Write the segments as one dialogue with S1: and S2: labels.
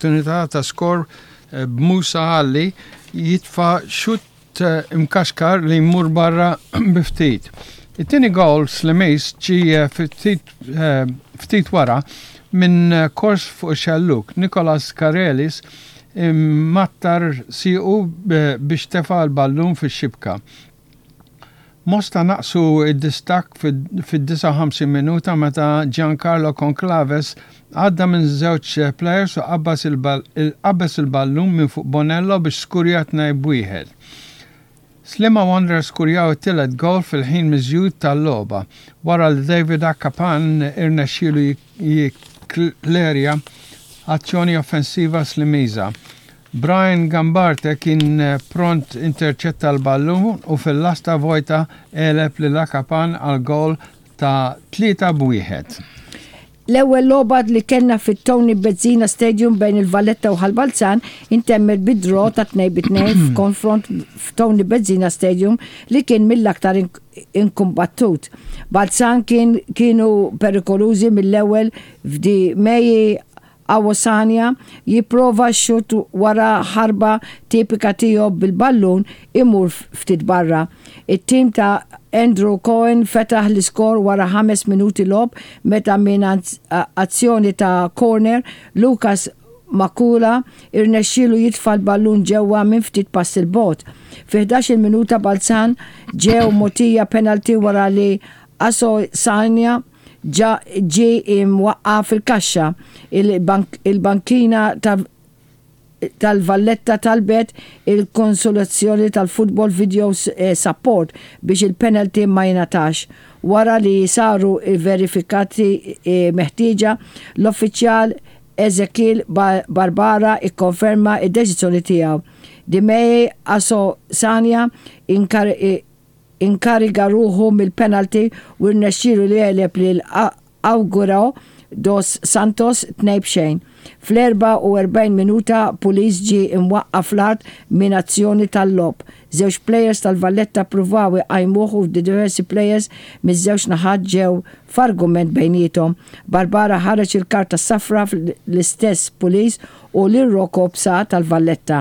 S1: opportunità ta' skor b'Musa Alli jitfa' xutt imkaxkar li jmur barra bi ftit. It-tieni gowl Slimiż ġie ftit wara minn kors fuq ix-xellug, Nicolas Karelis immattar siequ biex tefa' l-ballun fix-xibka. Mosta naqqsu d-distakk fid-59 minuta meta Giancarlo Conclaves għadda minn żewġ plejers u qabeż il-ballun minn fuq Bonello biex skurja 2-1. Sliema Wanderers skurjaw it-tielet gowl fil-ħin miżjud tal-logħba wara li David Akapan irnexxielu jikklerja azzjoni offensiva Slimiża. Brian Gambarte kien pront interċetta l-ballun u fil-lasta vojta għeleb lil Akapan għal gowl ta' 3-1.
S2: L-ewwel logħba li kellna fit-Tony Bezzina Stadium bejn il-Valletta u Ħal Balzan intemmet bi draw ta' 2-2 f'konfront f'Tony Bezzina Stadium li kien mill-aktar inkumbattut. Balzan kien kienu perikolużi mill-ewwel f'Di Meji Awosanya jipprova x-xutt wara ħarba tipika tiegħu bil-ballun imur ftit barra. It-tim ta' Andrew Cohen fetaħ l-iskor wara ħames minuti logħob meta minn azzjoni ta' corner, Lucas Makula irnexxielu jitfa' l-ballun ġewwa minn ftit passi 'l bogħod. Fi ħdax-il minuta Balzan ġew mogħtija penalty wara li Asosanya ġa ġie imwaqqa' fil-kaxxa. Il-bankina tal-Valletta talbet il-konsolazzjoni tal-Football Video Support biex il-penalty ma jingħatax. Wara li saru l-verifikati meħtieġa, l-uffiċjal Ezekiel Barbara kkonferma d-deċiżjoni tiegħu. Dimei Asosanya inkariga ruħu mill-penalty u rnexxielu li jegħleb lil Auguro dos Santos 2-0. Fl-44 minuta Pulis ġie imwaqqa' fl-art minn azzjoni tal-logħob. Żewġ plejers tal-Valletta ppruvaw iqajmuh u diversi plejers miż-żewġ naħat ġew f'argument bejniethom. Barbara ħareġ il-karta s-safra l-istess Pulis u lil Rocco Psa tal-Valletta.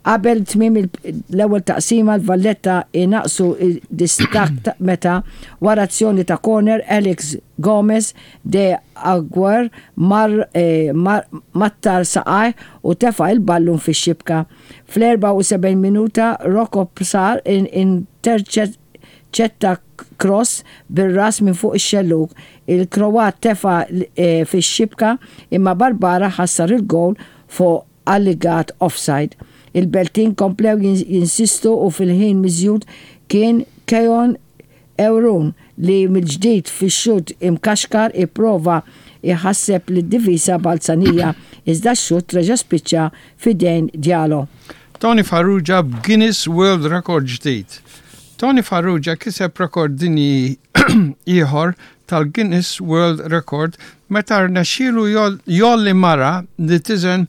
S2: Qabel tmiem l-ewwel taqsima l-Valletta inaqqsu d-distakk meta wara azzjoni ta' corner Alex Gomes de Aguer mar mattar saqajh u tefa' il-ballun fix-xibka. Fl-74 minuta Rocco Psa interċetta cross bir-ras minn fuq ix-xellug. Il-Kroat tefa' fix-xibka imma Barbara ħassar il-gowl fuq allegat offside. Il-Beltin komplew jinsistu u fil-ħin miżjud kien Keon Euron li mill-ġdid fix-xutt imkaxkar ipprova jħasseb lid-difiża Balzanija iżda x-xutt reġa' spiċċa f'idejn Diallo.
S1: Tony Farrugia b'Guinness World Record ġdid. Tony Farrugia kiseb rekord dinji ieħor tal-Guinness World Record meta rnexxielu jgħolli mara li tiżen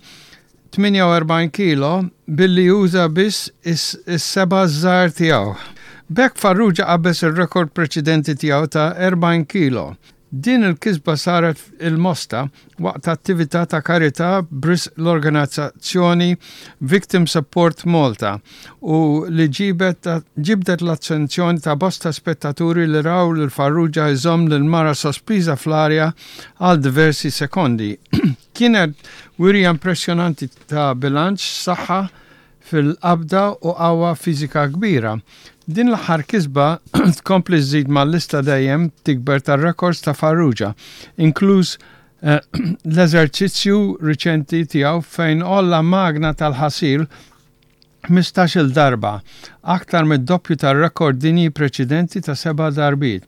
S1: 48 kilo billi uża biss is-seba' żgħar tiegħu. B'hekk Farrugia qabeż ir-rekord preċedenti tiegħu ta' 40 kilo. Din il-kisba saret il-Mosta waqt attività ta' karità b'risq l-organizzazzjoni Victim Support Malta u li ġibdet l-attenzjoni ta' bosta spettaturi li raw lil Farrugia jżomm lil mara sospiża fl-arja għal diversi sekondi. Kienet wirja impressjonanti ta' bilanċ, saħħa fil-qabda u qawwa fiżika kbira. Din l-aħħar kisba tkompli żżid mal-lista dejjem tikber tar-rekords ta' Farrugia, inkluż l-eżerċizzju riċenti tiegħu fejn għolla magna tal-ħasil 15-il darba, aktar mid-doppju tar-rekord dinji preċedenti ta' seba' darbiet.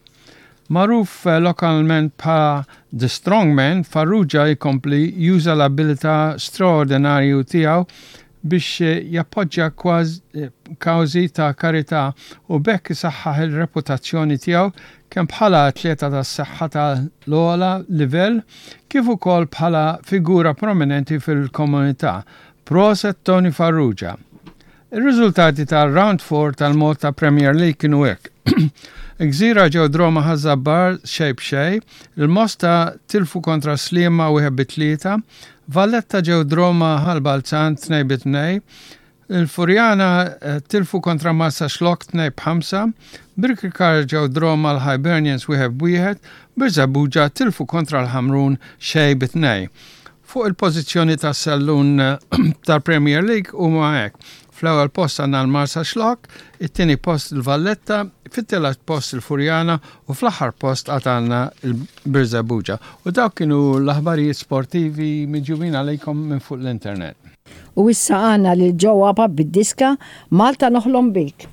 S1: Magħruf lokalment bħala The Strongman, Farrugia jkompli juża l-abilità straordinarju tiegħu biex jappoġġja kawżi ta' karità u b'hekk isaħħaħ ir-reputazzjoni tiegħu kemm bħala atleta tas-saħħa tal-ogħla livell kif ukoll bħala figura prominenti fil-komunità. Proset Tony Farrugia! Ir-riżultati tar-Round 4 tal-Malta Premier League kienu hekk. Gżira ġew draw ma' Ħaż-Żabbar xejn b'xejn, il-Mosta tilfu kontra Sliema 1-3, Valletta ġew draw ma' Ħal Balzan 2-2, Il-Furjana tilfu kontra Marsaxlokk 2 b'ħamsa, Birkirkara ġew draw mal-Hibernians 1 b'wieħed, Birżebbuġa tilfu kontra l-Ħamrun xejn bi tnejn. Fuq il-pożizzjoni tas-sellun tal-Premier League huma hekk, fl-ewwel post għandna l-Marsaxlokk, it-tieni post il-Valletta, fit-tielet post il-Furjana u fl-aħħar post għad għandna l-Birżebbuġa. U dawk kienu l-aħbarijiet sportivi miġjubin għalikom minn fuq l-internet.
S2: U issa għandna lil Joe Apap bid-diska Malta Noħlom Bik.